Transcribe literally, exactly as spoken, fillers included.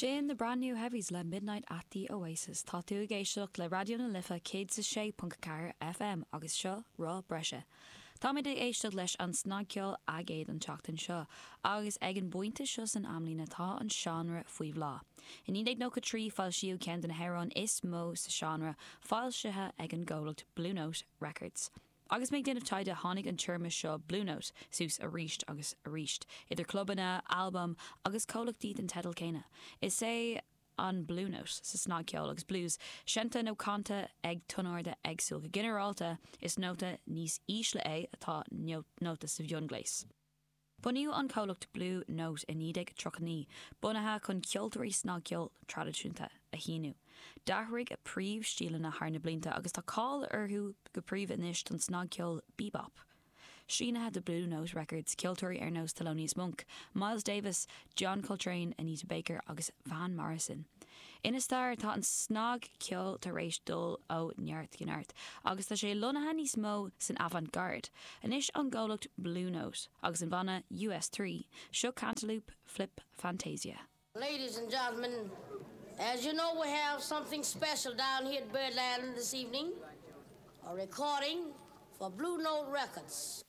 Sin the brand new heavies le Midnight at the Oasis Tá tú ag éisteacht le Raidió na Life céad a sé ponc ceathair FM agus seo Roth Breise. Táimid ag éisteacht leis an snagcheol aigéid an tseachtain seo, agus ag an bpointe seo san amlíne tá an seánra faoi bhláth. I naoi déag nócha trí foilsíodh ceann de na hamhráin is mó sa seánra foilsithe ag an gcomhlacht Blue Note Records. Agus mé ag déanamh taighde tháinig an téarma seo Blue Note suas arís agus arís, idir clubanna, albaim agus comhlachtaí den teideal céanna. Is é an Blue Note sa snagcheol agus blues, seinnte nó canta ag tonarda éagsúil go ginearálta is nóta níos ísle é atá nóta sa mhionghléas. Bunaíodh an comhlacht Blue Note i naoi déag tríocha naoi, bunaithe chun ceoltóirí snagcheol traidisiúnta a shíniú. D'athraigh a príomhstíleanna thar na blianta agus tá cáil orthu go príomha anois don snagcheol bebop. Sínithe do Blue Note Records ceoltóirí ar nós Thelonious Monk, Miles Davis, John Coltrane, Anita Baker agus Van Morrison. Ina stair tá an snagcheol tar éis dul ó neart go neart, agus tá sé lonnaithe níos mó san avant-garde. Anois an gcomhlacht Blue Note agus an banna US Three, seo Cantaloop Flip Fantasia. Ladies and gentlemen, as you know, we have something special down here at Birdland this evening, a recording for Blue Note Records.